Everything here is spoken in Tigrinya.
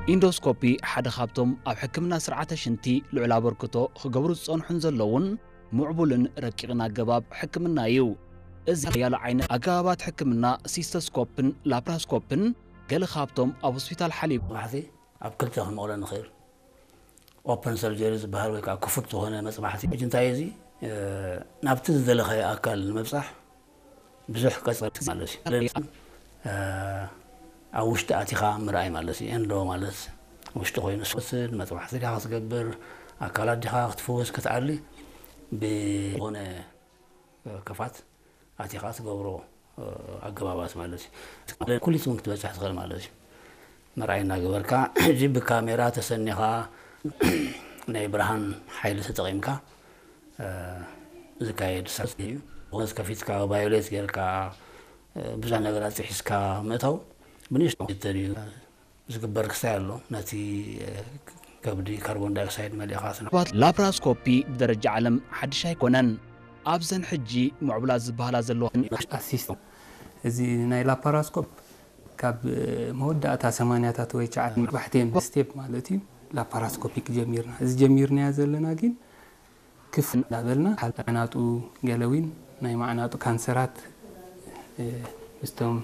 ኢንዶስኮፒ ሓደ ካብቶም ኣብ ሕክምና ስርዓተ ሽንቲ ልዑል ኣበርክቶ ክገብሩ ዝጸንሑን ዘለውን ምዕቡልን ረቂቕን ኣገባብ ሕክምና እዩ። እዚ ሓያሎ ዓይነት ኣገባባት ሕክምና ሲስተስኮፕን ላፕራስኮፕን ገለ ካብቶም ኣብ ሆስፒታል ሓሊብ መፅማሕቲ ኣብ ክልተ ክንመቕሎ ንኽእል። ኦፕን ሰርጀሪ ዝበሃል ወይ ከዓ ክፉት ዝኾነ መፅማሕቲ ሕጂ እንታይ እዚ ናብቲ ዝደለኻዮ ኣካል ንምብፃሕ ብዙሕ ቀፀር ማለት እዩ። ኣብ ውሽጢ ኣቲኻ ምርኣይ ማለት እዩ። ኤንዶ ማለት ውሽጢ ኮይኑ ስወስድ መፅማሕቲ ዲኻ ክትገብር ኣካላት ዲኻ ክትፍውስ ክትኣሊ ብዝኾነ ክፋት ኣቲኻ ትገብሮ ኣገባባት ማለት እዩ። ኩሊት እውን ክትበፅሕ ትኽእል ማለት እዩ። መርኣይ እናገበርካ ሕጂ ብካሜራ ተሰኒኻ ናይ ብርሃን ሓይሊ ተጠቒምካ ዝካየድ ስራሕ እዩ። ወዝ ከፊትካ ቫዮሌት ጌርካ ብዙሕ ነገራት ጥሒስካ ምእታው ብንእሽቶ ተድዩ ዝግበር ክሳይ ኣሎ። ነቲ ከብዲ ካርቦን ዳይኦክሳይድ መሊእኻ ስነ ላፕራስኮፒ ብደረጃ ዓለም ሓድሽ ኣይኮነን። ኣብዘን ሕጂ ምዕቡላት ዝበሃላ ዘለዋ ኣሲስቶ እዚ ናይ ላፓራስኮፕ ካብ መወዳእታ ሰማንያታት ወይ ቻዓ ባሕቴን ስቴፕ ማለት እዩ። ላፓራስኮፒክ ጀሚርና እዚ ጀሚርናያ ዘለና ግን ክፍ እንዳበልና ማዕናጡ ገለዊን ናይ ማዕናጡ ካንሰራት ምስቶም